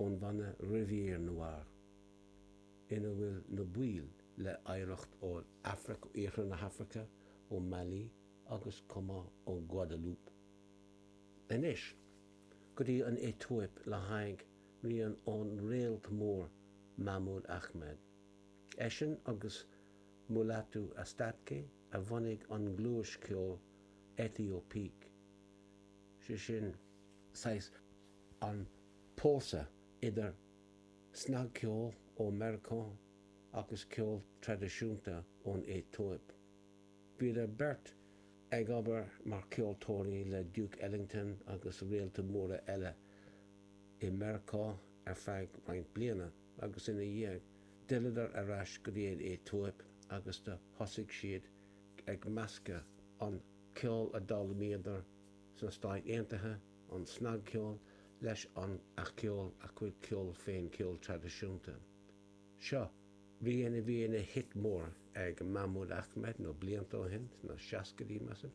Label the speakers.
Speaker 1: Ón bhanna Rivière Noire, ina bhfuil na baill le hoidhreacht ó Afraic, Iarthar na hAfraice, ó Mali agus chomh maith ó Guadeloupe. Anois, go dtí an Aetóip le haghaidh rian ón réalt mór Mahmoud Ahmed. Eisean agus Mulatu Astatke a bhunaigh an ghluais ceoil Éthiopiques, sé sin, saghas an pósadh idir snagcheol ó Meiriceá agus ceol traidisiúnta ón Aetóip. Bhíodar beirt ag obair mar cheoltóirí le Duke Ellington agus réalta móra eile i Meiriceá ar feadh roinnt bliana agus ina dhiaidh d'fhilleadar ar ais go dtí an Aetóip agus do thosaigh siad ag meascadh an ceol a d'fhoghlaimíodar sna Stáit Aontaithe, an snagcheol, leis an a cheol, a gcuid ceol féin, ceol traidisiúnta. Seo rian a bhí ina hit mór ag Mahmoud Ahmed nó blianta ó shin, sna seascaidí, measaim.